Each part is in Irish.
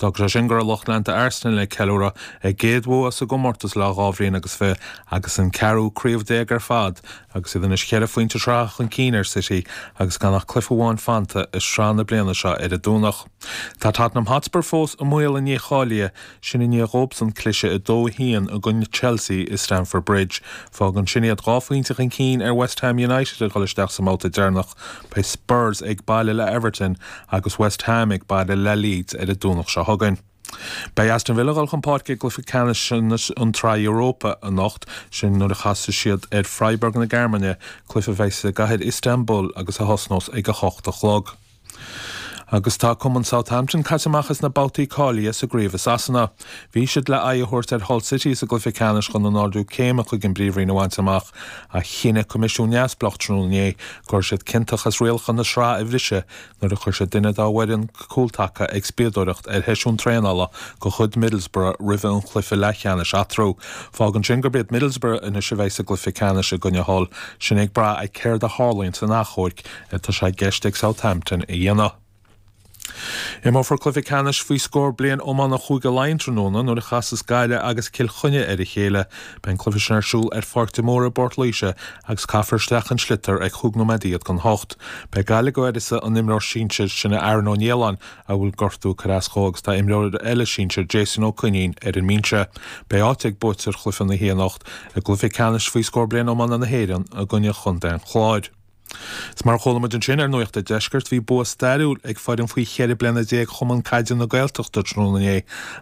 D'fhág sé sin go raibh lucht leanta Arsenal ag ceiliúradh a gcéad bhua sa gcomórtas le 22 bhliain agus an ceathrú craobh ar fad agus iad anois cheithre phointe sraithe chun cinn ar City agus gan ach cluiche amháin fanta i sraith na bliana seo ar an Domhnach. Tá Tottenham Hotspur fós i mbaol a ndícháilithe, sin i ndiaidh dhóibhsan cliseadh 2-1 i gcoinne Chelsea i Stamford Bridge. Fágann sin iad 2 phointe chun cinn ar West Ham United ag dul isteach sa mbabhta deireanach. Beidh Spurs ag baile le Everton agus West Ham ag baile le Leeds ar an Domhnach seo chugainn. Beidh Aston Villa ag dul chun páirce i gcluiche ceannais an tSraith Europa anocht, sin nuair a chasfaidh siad ar Freiburg na Gearmáine, cluiche a bheidh i gcathair Istanbul agus a thosnós ag 8 a chlog. Agus tá cumann Southampton caite amach as na babhtaí cáilithe sa gcraobh i Sasana. Bhí siad le aghaidh a thabhairt ar Hull City sa gcluiche ceannais chun an ardú céime chuig an bPríomhroinn a bhaint amach ach chinn coimisiún neamhspleách tráthnóna inné go raibh siad ciontach as rialacha na sraithe a bhriseadh nuair a chuir siad duine dá bhfoireann cúltaca ag spiadóireacht ar sheisiún traenála de chuid Middlesbrough roimhe an chluiche leathcheannais eatarthu. Fágann sin gurb iad Middlesbrough anois a bheidh sa gcluiche ceannais i gcoinne Hull, sin ag brath ar céard a tharlaíonn san achomharc atá sé i gceist ag Southampton a dhéanamh. Imreofar cluiche ceannais faoi scór bliain iomána Chúige Laighean tráthnóna nuair a chasas Gaillimh agus Cill Chainnigh ar a chéile. Beidh an cluiche sin ar siúl ar Pháirc de Mórdha i bPort Laoise agus caithfear isteach an sliotar ag chúig nóiméad don hocht. Beidh Gaillimh ag uireasa an imreoir sinsir sin Aaron Ó Nialláin a bhfuil gortú ag cur as dhó agus tá imreoir eile sinsir Jason Ó Coinín ar an mbinse. Beidh áit ag buaiteoir chluiche na hoíche anocht i gcluiche ceannais faoi scór bliain iomána na hÉireann i gcoinne Chontae an Chláir. Is mar a chuala muid ansin ar Nuacht an Deiscirt, bhí bua stairiúil ag foireann faoi 14 bliana Chumann Caide na Gaeltachta tráthnóna inné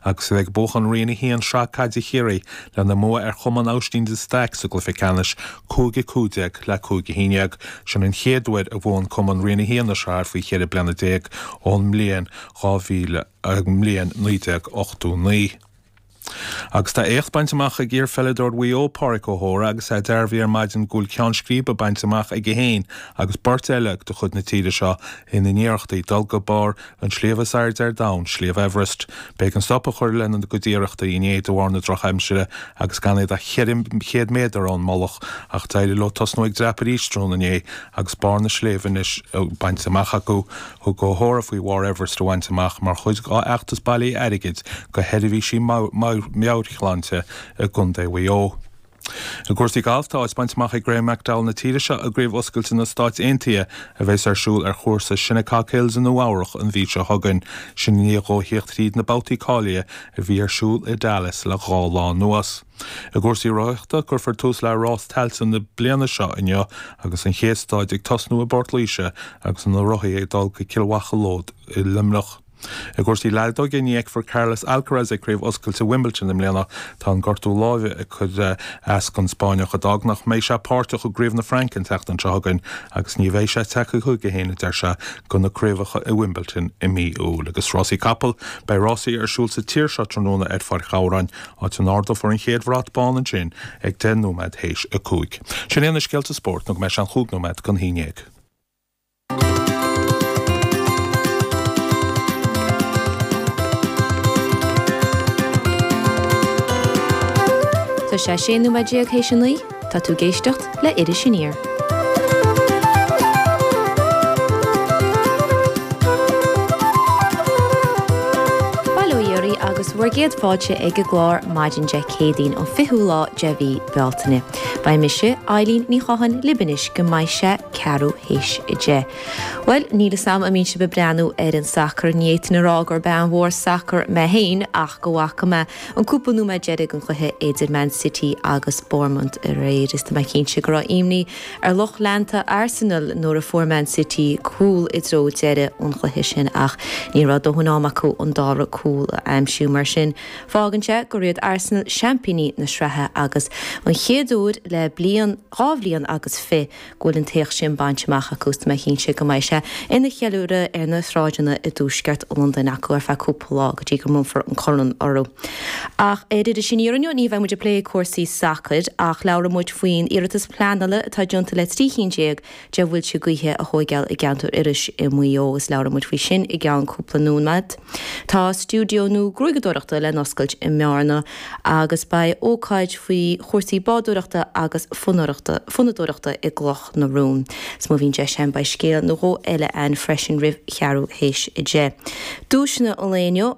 agus iad ag buachan Roinn 1 Sraith Caide Chiarraí lena mbua ar Chumann Aibhistín de Staic sa gcluiche ceannais, 5-15 le 5-11. Sin an chéad uair a bhuaigh an cumann Roinn 1 na sraithe faoi 14 bliana ón mbliain 2000, mbliain 1989. Agus tá éacht bainte amach ag iar-pheileadóir Mhaigh Eo, Pádraic Ó hÓra, agus é dearbhaithe ar maidin go bhfuil ceann scríbe bainte amach aige féin agus beirt eile de chuid na tíre seo ina n-iarrachtaí dul go barr an tsléibhe is airde ar domhan, Sliabh Everest. B'éigean stop a chur lena gcuid iarrachtaí inné de bharr na drochaimsire agus gan iad ach 400 méadar ón mullach ach d'éirigh leo tosnú ag dreapadh arís tráthnóna inné agus barr na sléibhe anois bainte amach acu. Thug Ó hÓra faoi bharr Everest a bhaint amach mar chuid dá fheachtas bailithe airgid do sheirbhísí meabhairshláinte i gContae Mhaigh Eo. I gcúrsaí gailf, tá áit bainte amach ag Graham McDowell na tíre seo i gCraobh Oscailte na Stáit Aontaithe a bheas ar siúl ar chúrsa Shinnecock Hills i Nua Eabhrach an mhí seo chugainn, sin i ndiaidh dhó theacht thríd na babhtaí cáilithe a bhí ar siúl i Dallas le dhá lá anuas. I gcúrsaí rothaíochta, cuirfear tús le Rás Tailte na bliana seo inniu agus an chéad staid ag tosnú i bPort Laoise agus na rothaí ag dul go Cill Mhacha Lód i Luimneach. I gcúrsaí leadóige, ní fheicfear Carlos Alcaraz ag Craobh Oscailte Wimbledon i mbliana. Tá an gortú láimhe ag cur as don Spáinneach a d'fhág nach mbeidh sé páirteach i gCraobh na Fraince an tseachtain seo chugainn agus ní bheidh sé tagtha chuige féin, a deir sé, do na craobhacha i Wimbledon i mí Iúil. Agus rásaí capall, beidh rásaí ar siúl sa tír seo tráthnóna ar Pháirc Ghabhráin. áit a n-ardófar an chéad bhrat bán ansin ag 10 nóiméad théis 5. Sin iad na scéalta spóirt nó go mbeidh sé an chúig nóiméad don haon ndéag. Tá sé 16 nóiméad théis a 9, tá tú ag éisteacht le Iris Aniar. Bail ó Dhia oraibh agus bhur gcéad fáilte ag an gclár maidin Dé Céadaoin an 20ú lá de mhí Bealtaine. Beidh mise, Eileen Ní Chatháin, libh anois go mbeidh sé ceathrú théis a 10. Bhuel, níl 'fhios a'm an mbíonn sibh ag breathnú ar an sacar, ní fhéadfainn a rá gur bean mhór sacair mé féin ach go bhfaca mé An cúpla nóiméad deiridh den chluiche idir Man City agus Bournemouth aréir is tá mé cinnte go raibh imní ar lucht leanta Arsenal nuair a fuair Man City cúl i dtreo deireadh an chluiche sin ach ní raibh dóthain am acu an dara cúl a aimsiú. Mar sin, fágann sé gur iad Arsenal seaimpíní na sraithe agus an chéad uair le bliain, dhá bhliain agus fi, go bhfuil an t-éacht sin bainte amach acu is tá mé cinnte go mbeidh sé ina cheiliúradh ar na sráideanna i dtuaisceart Londain acu ar feadh cúpla lá go dtí go mbronnfar an corn orthu. Ach ar Iris Aniar inniu ní bheidh muid ag plé cúrsaí sacair ach labhróidh muid faoin iarratas pleanála atá déanta le 13 chinn de mhuilte gaoithe a thóigeáil i gceantar Iorrais i Maigh Eo agus labhróidh muid faoi sin i gceann cúpla nóiméad. Tá stiúideo nua gruaigeadóireachta le n-oscailt i mBearna agus beidh ócáid faoi chúrsaí bádóireachta agus fonnadóireachta i gCloch na Rún. Is má bhíonn deis a'm beidh scéal nó dhó eile a'inn freisin roimh cheathrú théis a 10. Duaiseanna an lae inniu.